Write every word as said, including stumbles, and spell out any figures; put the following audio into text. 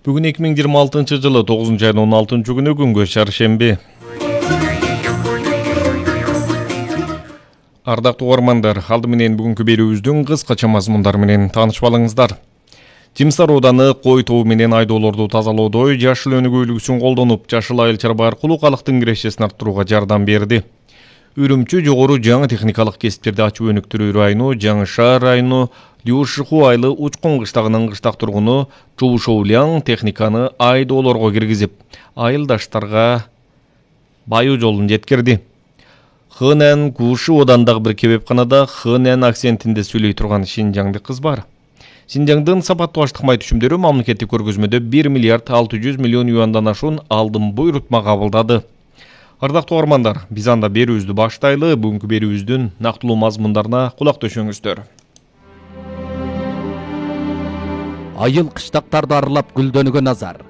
Бүгүн эки миң жыйырма алтынчы жылы тогузунчу айдын он алтынчы күнү күнгө шаршемби. Ардактуу угармандар, алды менен бүгүнкү берүүбүздүн кыскача мазмундары менен таанышып алыңыздар. Жимсар ооданы кой тобу менен айдоолорду тазалоодо жашыл өнүгүүлүгүсүн колдонуп, жашыл айыл чарба аркылуу калктын кирешесин арттырууга жардам берди. Үрүмчү жогору жаңы техникалык кесиптерди ачуу өнүктүрүү району, Жаңы Шаар району, Дюшиху айылы Учкун кыштагынын кыштак тургуну Чоушоулян техниканы айдоолорго киргизип, айылдаштарга баю жолун жеткирди. Хэнэн Кушы одан дагы бир кебепканада Хэнэн акцентинде сүйлөй турган шинжаңдык кыз бар. Шинжаңдын сапаттуу аштык май түшүмдөрү мамлекеттик көргөзмөдө бир миллиард алты жүз миллион юандан ашуун алдын буйрутма кабылдады. Ардактуу угармандар, биз анда берүүбүздү баштайлы. Бүгүнкү берүүбүздүн нактылуу мазмундарына кулак төшөңүздөр. Айыл кыштактарды аралап гүлдөнгөн Назар.